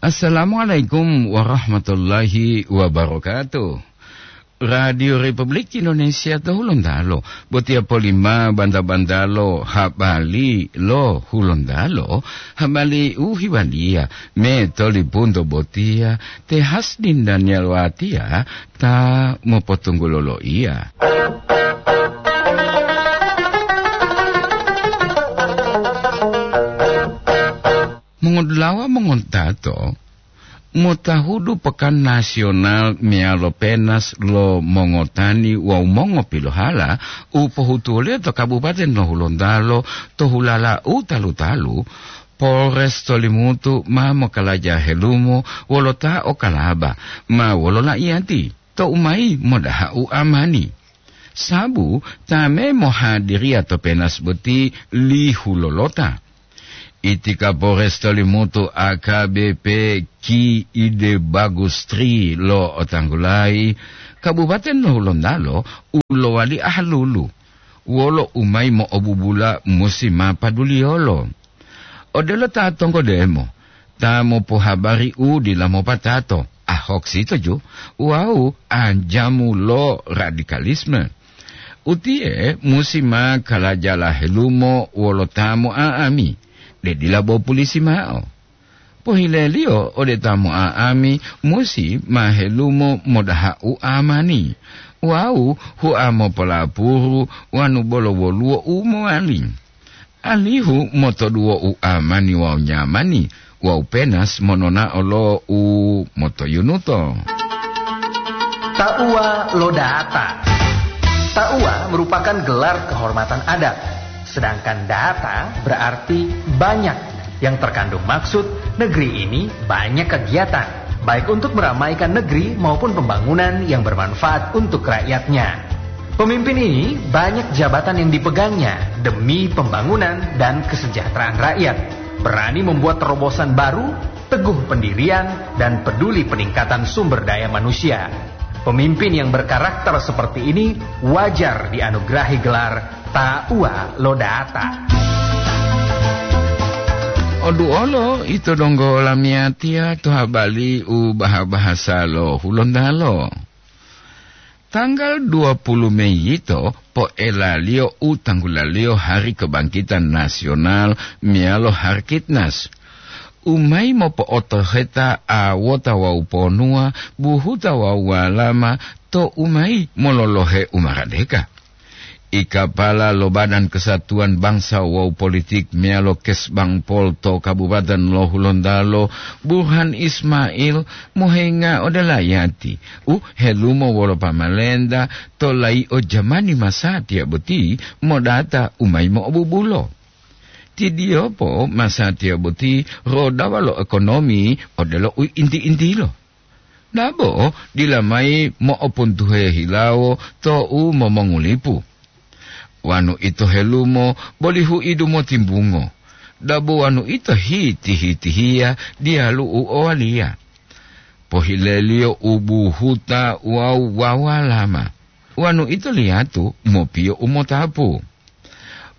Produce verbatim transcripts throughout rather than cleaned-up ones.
Assalamualaikum warahmatullahi wabarakatuh. Radio Republik Indonesia to Hulontalo, botiya polima banta-bantalo habali lo Hulontalo, habali u hiwaliya me tolipunto botiya te Hasdin Daniel Watiya ta mopotunggulo loiya. Mongodulawa mongontato, motahudu Pekan Nasional meyalo Penas lo Mongotani wawu Mongopilohala u pohutuwoliyo to Kabupaten lo Hulontalo to hulala u talu-talu, Polres Tolimutu ma mokalaja helumo wolo ta o kalaba ma wolo laiyati tou mayi modaha u amani. Sabu ta me mohadiriya to Penas boti lihu lolota. Itika Polres Tolimutu A K B P Ki Ide Bagus Tri lo otanggulayi, Kabupaten lo Hulontalo u lowali ahalulu, wolo u mayi mo'obubula musi ma paduliyolo. Odelo ta tonggodemo, ta mopohabari u dila mopatato, ahok sitoju, wawu anjamu lo radikalisme. Utiye musi ma kalajala helumo wolo ta mo'a'ami, de dila bo pulisi mao. Pohileliyo ode ta mo'a'ami musi ma helumo modaha u amani, wawu hua mopolapuru wanu bolo woluwo u mowali. Alihu motoduwo u amani wawu nyamani wawu Penas mononao lo u motoyunuto. Tauwa lo data. Tauwa merupakan gelar kehormatan adat, sedangkan data berarti banyak yang terkandung maksud negeri ini banyak kegiatan, baik untuk meramaikan negeri maupun pembangunan yang bermanfaat untuk rakyatnya. Pemimpin ini banyak jabatan yang dipegangnya demi pembangunan dan kesejahteraan rakyat. Berani membuat terobosan baru, teguh pendirian, dan peduli peningkatan sumber daya manusia. Pemimpin yang berkarakter seperti ini wajar dianugerahi gelar Tauwa lo Data. Oduolo ito donggo lamiyatiya to habali u baha-bahasa lo Hulontalo. Tanggal dua puluh Mei yito poelaliyo u tanggulaliyo Hari Kebangkitan Nasional meyalo Harkitnas, u mayi mopo'otoheta awota wawu ponuwa, buhuta wawu walama to u mayi mololohe u maradeka. Ikapala lo Badan Kesatuan Bangsa wawu Politik meyalo Kesbangpol to Kabupaten lo Hulontalo, Burhan Ismail, mohenga ode layati u helumo wolo pamalenta to laio jamani masatiya boti modata u mayi mo'obubulo. Tidiyopo masatiya boti rodawa lo ekonomi odelo u inti-intilo. Dabo dila mayi mo'opuntuhe hilawo to u momongulipu. Wanu ito helumo boli huidu motimbungo. Dabo wanu ito hiti-hitihiya diyalu u owaliya. Pohileliyo u buhuta wawu wawalama. Wanu ito liyatu mopiyo u motapu.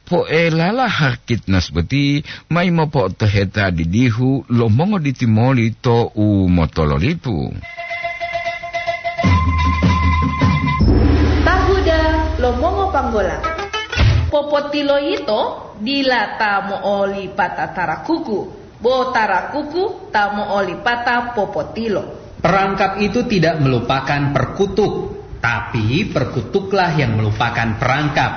Poelala Harkitnas boti mayi mopo'otoheta didihu lo mongoditimoli to u motololipu. Tahuda lo mongopanggola. Popotilo yito dila ta mo'olipata tarakuku, bo tarakuku ta mo'olipata popotilo. Perangkap itu tidak melupakan perkutuk, tapi perkutuklah yang melupakan perangkap.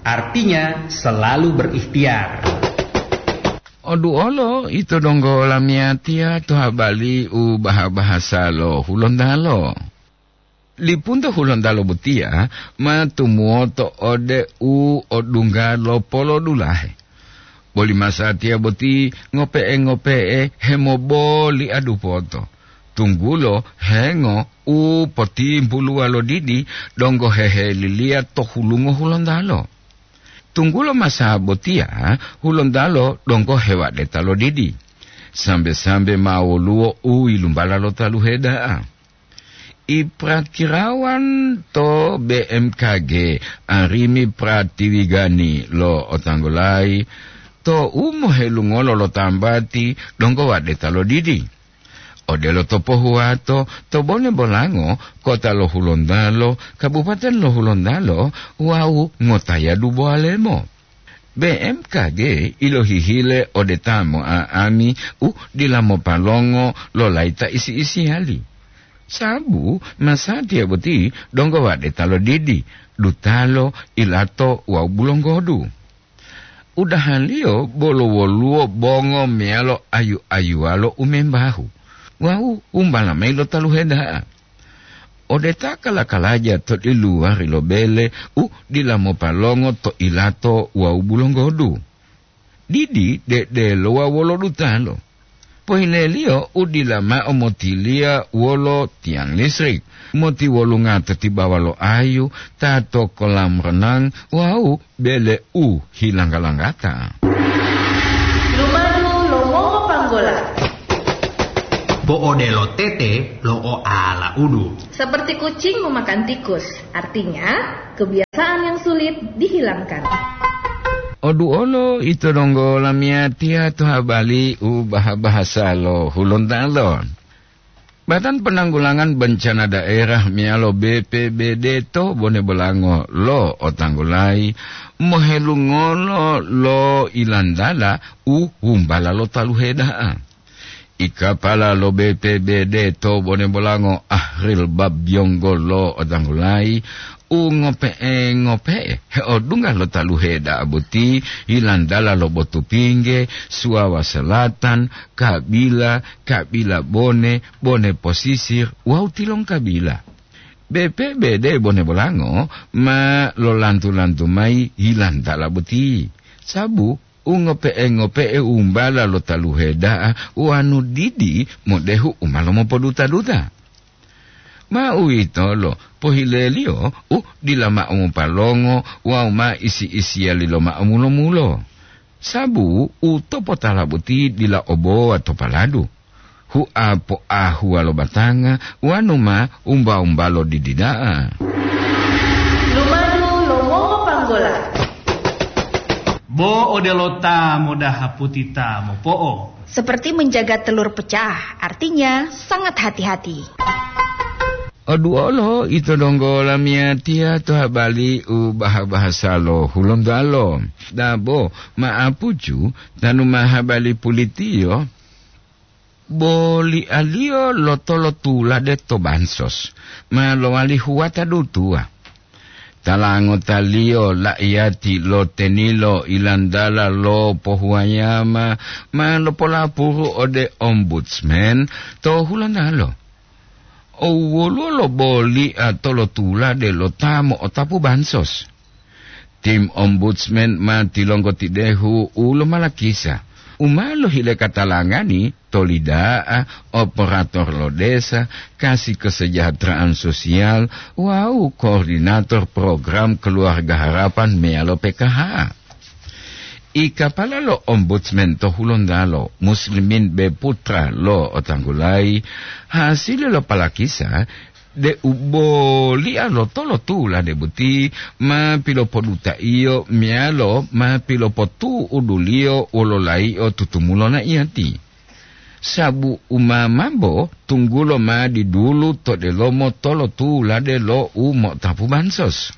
Artinya, selalu berikhtiar. Oduolo ito donggo lamiyatiya to habali u baha-bahasa lo Hulontalo. Lipunto Hulontalo botiya ma tumuwoto ode u odungga lo polodulahe. Boli masatiya boti ngope'e-ngope'e hemoboli adupoto, tunggulo hengo u potimbuluwa lo didi donggo heheliliya to hulungo Hulontalo. Tunggulo masa botiya, Hulontalo donggo hewadeta lo didi. Sambe-sambe ma woluwo u yilumbala lo taluhe da'a. Iprakirawan to B M K G, Arimi Pratiwigani lo otanggolayi, to u mohelungolo lo tambati donggo wadeta lo didi. Odelo to Pohuwato, to Bone Bolango, kota lo Hulontalo, kabupaten lo Hulontalo, wawu ngotayadu Bowalemo. B M K G ilohihile ode ta mo'a'ami u dila mopalongo lo layita isi-isiyali. Sabu masatiya boti donggo wadeta lo didi, dutalo, ilato wawu bulonggodu. Udahaliyo bolo woluwo bongo meyalo ayu-ayuwalo u membahu wawu umbala mayi lo taluhe da'a. Ode ta kala-kalaja to diluwari lo bele u dila mopalongo to ilato wawu bulonggodu. Didi dedelo wawu wolo dutalo. Pohileliyo u dila mao motiliya wolo tiyang listrik, motiwolunga to tibawa lo ayu, ta to kolam renang wawu bele u hilangga-langgata. Lumadu lo mongopanggola. Bo odelo tete lo oala udu. Seperti kucing memakan tikus, artinya kebiasaan yang sulit dihilangkan. Oduolo ito donggo lamiyatiya to habali u baha-bahasa lo Hulontalo. Badan Penanggulangan Bencana Daerah meyalo B P B D to Bone Bolango lo otanggulayi mohelungolo lo ilantala u humbala lo taluhe da'a. I kapala lo B P B D to Bone Bolango Ahril Babyonggo lo otanggulayi u ngope'e-ngope'e heodunga lo taluhe da'a boti ilantala lo Botupingge, Suwawa Selatan, Kabila, Kabila Bone, Bone Posisir, wawu Tilongkabila. B P B D Bone Bolango ma lolantu-lantu mayi hilantala boti, sabu u ngope'e-ngope'e umbala lo taluhe da'a wanu didi modehu u ma lomopoduta-duta. Ma uwitolo pohileliyo u dila mao mopalongo wawu ma isi-isiyali lo mao mulo-mulo. Sabu u topotala boti dila obowa to paladu, hua poahuwa lo batanga wanu ma umba-umbalo didi da'a. Lumadu lo mongopanggola. Bo odelo ta modaha puti ta mopo'o. Seperti menjaga telur pecah, artinya sangat hati-hati. Oduolo ito donggo lamiyatiya to habali u baha-bahasa lo Hulontalo. Dabo ma'apucu tanu ma habali pulitiyo, bolialiyo lo tolotulade to bansos ma lowali huwata dutuwa. Tala ngotaliyo la'iyati lo tenilo ilantala lo pohuwayama ma lopolapuru ode ombudsman to Hulontalo. Owoluwo lo boli'a tolotulade lo ta mo'otapu bansos. Tim ombudsman ma tilonggotidehu u lomalakisa, u ma lohile katalangani to lida'a, operator lo desa, kasi kesejahteraan sosial, wawu koordinator program Keluarga Harapan meyalo P K H. I kapala lo ombudsman to Hulontalo, Muslimin B Putra lo otanggulayi, hasili lo palakisa deu boli'a lo tolotulade boti ma pilopodutaiyo meyalo ma pilopotu'uduliyo wolo layi'o tutumulo na'iyati. Sabu u ma mambo tunggulo ma didulu to delomo tolotulade lo u mo'otapu bansos.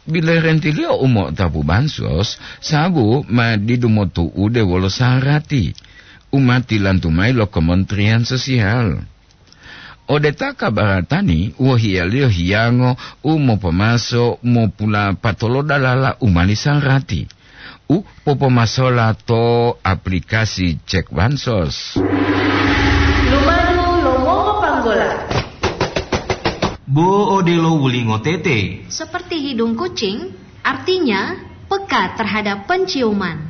Bilerentiliyo u mo'otapu bansos, sabu ma didu motu'ude wolo sarati u ma tilantu mayi lo Kementerian Sosial. Ode ta kabaratani, wohiyaliyo hiyango u mopomaso mopulapatolo dalala u mali sarati, u popomasola to aplikasi cek bansos. Lumadu lo mongopanggola. Bo odelo wulingo tete. Seperti hidung kucing, artinya peka terhadap penciuman.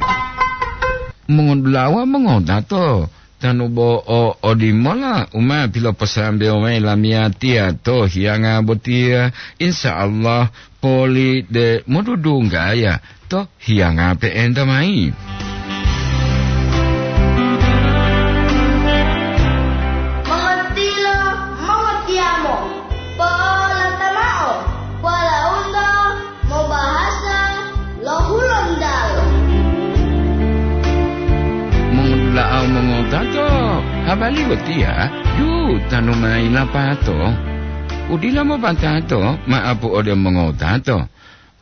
Mongodula'a mongodato, tanu bo o odimola u ma piloposambewo mayi lamiyatiya to hiyanga botiya, insya Allah poli de modudunggaya to hiyanga pe'enta mayi. Mongontilo, mongotiyamo, po'olata mao, polaunto mobahasa lo Hulontalo. Mongola'o mongotato, Abali botiya, dutanu mayi lapato. Udila mopatato, maapu ode mongowutato.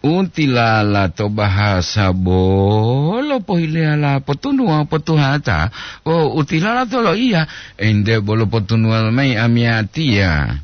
Utilala to bahasa bolo pohileyala potunuwa potuhata, wawu utilala to loiya, ente bolo potunuwa mayi amiyatiya.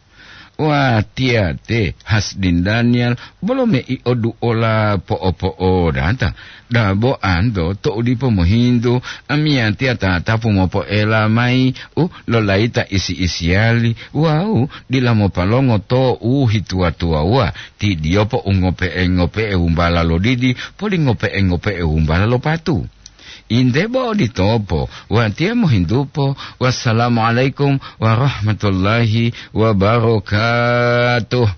Watiya te Hasdin Daniel bolo mei oduola po'opo'odata. Dabo anto to'u dipo mohintu, amiyatiya tatapu mopoela mayi u lolayita isi-isiyali wawu dila mopalongo to u hituwa-tuwawuwa, tidiyopo u ngope'e-ngope'e wumbala lo didi, poli ngope'e-ngope'e wumbala lo patu. Inde bo oditopo, watiya mohintupo. Wassalamualaikum warahmatullahi wabarakatuh.